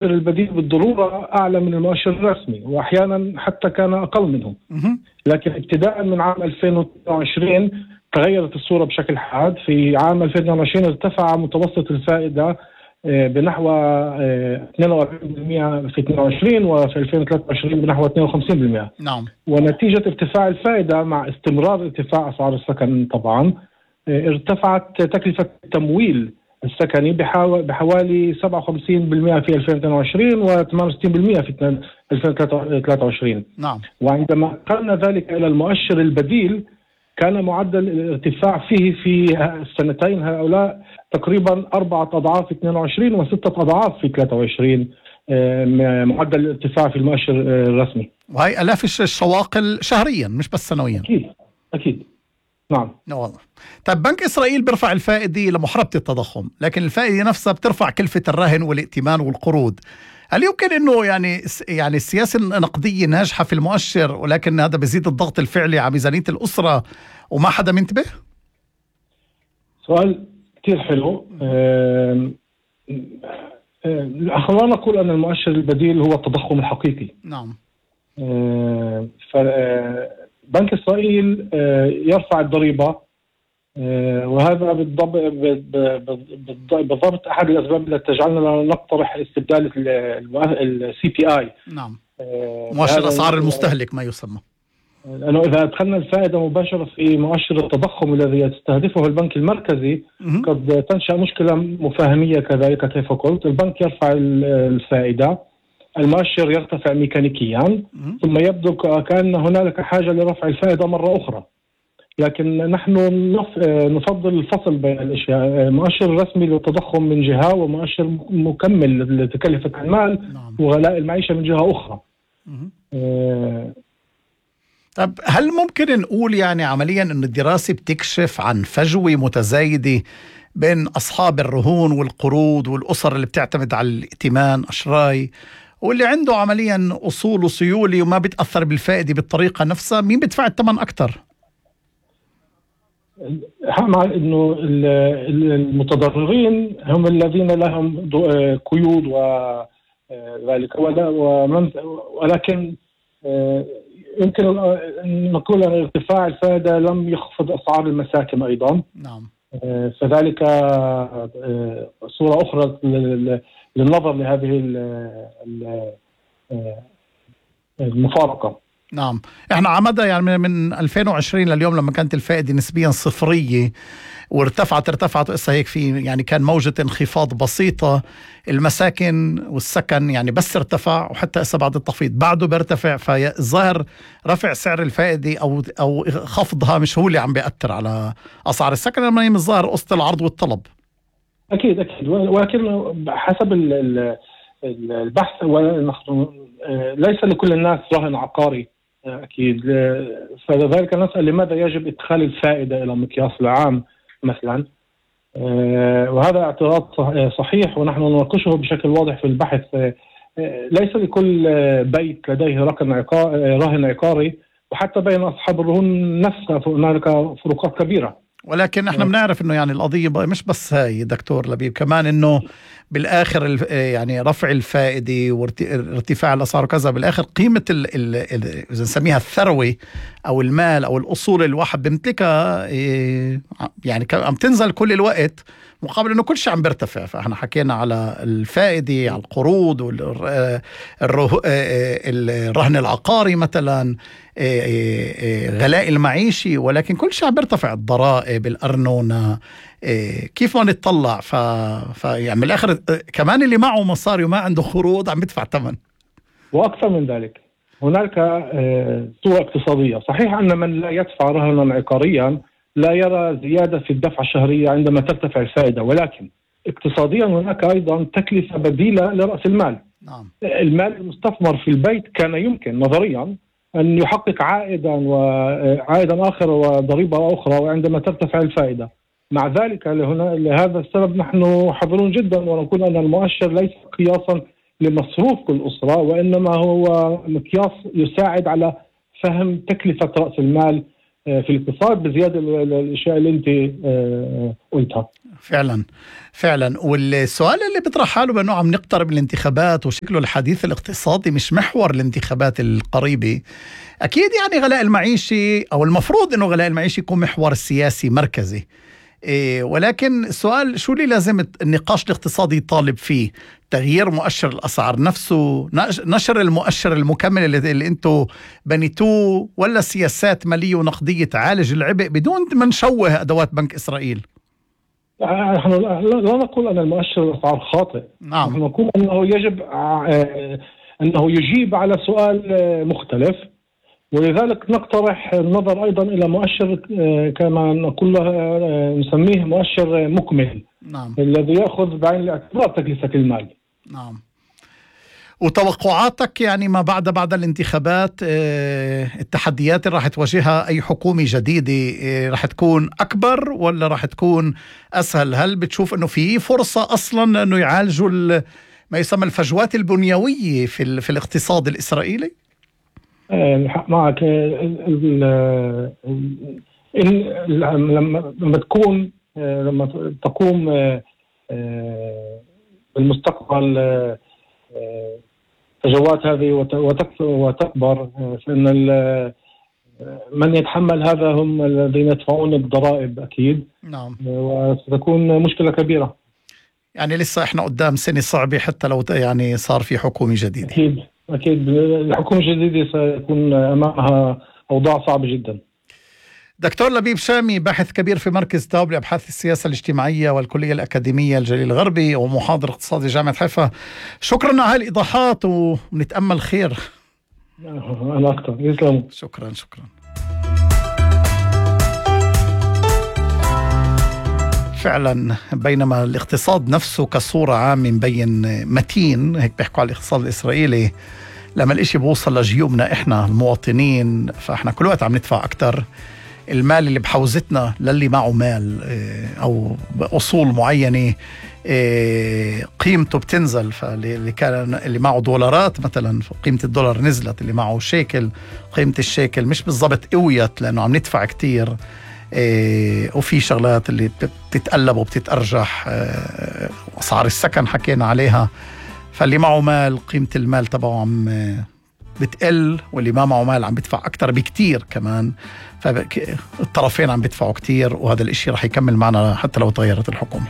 البديل بالضرورة أعلى من المؤشر الرسمي، وأحيانا حتى كان أقل منه. لكن ابتداء من عام 2022 تغيرت الصورة بشكل حاد. في عام 2022 ارتفع متوسط الفائدة بنحو 42% في 22، وفي 2023 بنحو 52%. نعم. ونتيجة ارتفاع الفائدة مع استمرار ارتفاع أسعار السكن طبعا ارتفعت تكلفة التمويل السكني بحوالي 57% في 2022 و68% في 2023. نعم. وعندما قلنا ذلك إلى المؤشر البديل كان معدل الارتفاع فيه في السنتين هؤلاء تقريبا 4 أضعاف 22 و6 أضعاف في 23 معدل الارتفاع في المؤشر الرسمي. وهي آلاف الشواقل شهريا مش بس سنويا. أكيد نعم. والله. طيب بنك إسرائيل بيرفع الفائدة لمحاربة التضخم، لكن الفائدة نفسها بترفع كلفة الرهن والائتمان والقروض. هل يمكن انه يعني السياسة النقدية ناجحة في المؤشر، ولكن هذا بيزيد الضغط الفعلي على ميزانية الأسرة وما حدا منتبه؟ سؤال كتير حلو. خلونا نقول أن المؤشر البديل هو التضخم الحقيقي. نعم. بنك إسرائيل يرفع الضريبة، وهذا بالضبط أحد الأسباب التي تجعلنا نقترح استبدال CPI. نعم. مؤشر أسعار المستهلك ما يسمى. لأنه إذا أدخلنا الفائدة مباشرة في مؤشر التضخم الذي يستهدفه البنك المركزي قد تنشأ مشكلة مفاهمية كذلك. كيف قلت، البنك يرفع الفائدة، المؤشر يرتفع ميكانيكيا، ثم يبدو كأن هنالك حاجة لرفع الفائدة مرة أخرى. لكن نحن نفضل الفصل بين الأشياء، مؤشر رسمي للتضخم من جهة ومؤشر مكمل لتكلفة المال وغلاء المعيشة من جهة أخرى. طب هل ممكن نقول يعني عمليا أن الدراسة بتكشف عن فجوة متزايدة بين أصحاب الرهون والقروض والأسر اللي بتعتمد على الائتمان أشراي، واللي عنده عمليا أصول وسيولة وما بتأثر بالفائدة بالطريقة نفسها؟ مين بيدفع الثمن أكتر؟ مع انه المتضررين هم الذين لهم قيود وذلك، ولكن يمكن ان نقول ان ارتفاع الفائدة لم يخفض اسعار المساكن ايضا. نعم. فذلك صورة اخرى للنظر لهذه المفارقة. نعم. احنا عمدا يعني من 2020 لليوم لما كانت الفائدة نسبيا صفرية وارتفعت وإسا هيك في يعني كان موجة انخفاض بسيطة. المساكن والسكن يعني بس ارتفع، وحتى إسا بعد التخفيض بعده بيرتفع. فالظاهر رفع سعر الفائدة أو خفضها مش هو اللي عم بيأثر على أسعار السكن، لما هي الظاهر قصة العرض والطلب. أكيد ولكن حسب البحث ليس لكل الناس رهن عقاري أكيد. فلذلك نسأل لماذا يجب إدخال الفائدة إلى مقياس العام مثلا. وهذا اعتراض صحيح ونحن نناقشه بشكل واضح في البحث. ليس لكل بيت لديه رهن عقاري، وحتى بين أصحاب الرهون نفسها هنالك فروقات كبيرة. ولكن احنا بنعرف انه يعني القضية مش بس هاي دكتور لبيب، كمان انه بالاخر يعني رفع الفائدة وارتفاع الاسعار وكذا، بالاخر قيمة اذا نسميها الثروة او المال او الاصول الواحد بيمتلكها يعني عم تنزل كل الوقت، مقابل انه كل شيء عم بيرتفع. فاحنا حكينا على الفائدة، على القروض الرهن العقاري مثلا، غلاء المعيشي، ولكن كل شيء عم بيرتفع، الضرائب، الأرنونة. كيف ما نتطلع يعني بالاخر كمان اللي معه مصاري وما عنده قروض عم يدفع ثمن. واكثر من ذلك هناك صورة اقتصادية. صحيح ان من لا يدفع رهنا عقاريا لا يرى زيادة في الدفعة الشهرية عندما ترتفع الفائدة، ولكن اقتصاديا هناك ايضا تكلفة بديلة لرأس المال. نعم. المال المستثمر في البيت كان يمكن نظريا أن يحقق عائدا آخر وضريبة أخرى وعندما ترتفع الفائدة. مع ذلك لهذا السبب نحن حذرون جدا ونقول أن المؤشر ليس قياسا لمصروف كل أسرة، وإنما هو مقياس يساعد على فهم تكلفة رأس المال في الاقتصاد بزيادة الأشياء اللي أنت قلتها. فعلا والسؤال اللي بيطرح حاله بأنه عم نقترب من الانتخابات وشكله الحديث الاقتصادي مش محور الانتخابات القريبة. أكيد يعني غلاء المعيشة أو المفروض أنه غلاء المعيشة يكون محور سياسي مركزي، ولكن السؤال شو اللي لازم النقاش الاقتصادي يطالب فيه؟ تغيير مؤشر الأسعار نفسه، نشر المؤشر المكمل اللي انتو بنيتوه، ولا سياسات مالية ونقدية تعالج العبء بدون ما نشوه أدوات بنك إسرائيل؟ نحن لا نقول أن المؤشر الأسعار خاطئ. نعم. نحن نقول أنه يجب أنه يجيب على سؤال مختلف، ولذلك نقترح النظر أيضا إلى مؤشر كما نقول نسميه مؤشر مكمل. نعم. الذي يأخذ بعين الاعتبار تكلفة المال. نعم. وتوقعاتك يعني ما بعد الانتخابات، التحديات اللي راح تواجهها أي حكومة جديدة راح تكون أكبر ولا راح تكون أسهل؟ هل بتشوف أنه في فرصة أصلا أنه يعالجوا ما يسمى الفجوات البنيوية في الاقتصاد الإسرائيلي؟ معك. لما تقوم بالمستقبل فجوات هذه وتكبر، فإن من يتحمل هذا هم الذين يدفعون الضرائب أكيد. نعم. وستكون مشكلة كبيرة. يعني لسه إحنا قدام سنة صعبة حتى لو يعني صار في حكومة جديدة. أكيد الحكومة الجديدة سيكون أمامها أوضاع صعبة جدا. دكتور لبيب شامي، باحث كبير في مركز داوب لأبحاث السياسة الاجتماعية والكلية الأكاديمية الجليل الغربي ومحاضر اقتصادي جامعة حيفا، شكرا على هالإيضاحات ونتأمل خير. أنا أكثر. يسلم. شكرا. فعلا بينما الاقتصاد نفسه كصورة عامة مبين متين، هيك بيحكوا على الاقتصاد الإسرائيلي، لما الاشي بوصل لجيوبنا احنا المواطنين فاحنا كل وقت عم ندفع أكتر. المال اللي بحوزتنا للي معه مال أو أصول معينة قيمته بتنزل، فاللي كان اللي معه دولارات مثلا قيمة الدولار نزلت، اللي معه شيكل قيمة الشيكل مش بالضبط قويت لأنه عم ندفع كتير. وفي شغلات اللي بتتقلب وبتتأرجح، أسعار السكن حكينا عليها، فاللي معه مال قيمة المال تبعه عم بتقل، واللي ما معه مال عم بدفع أكتر بكتير كمان، فالطرفين عم بدفعوا كتير، وهذا الاشي رح يكمل معنا حتى لو تغيرت الحكومة.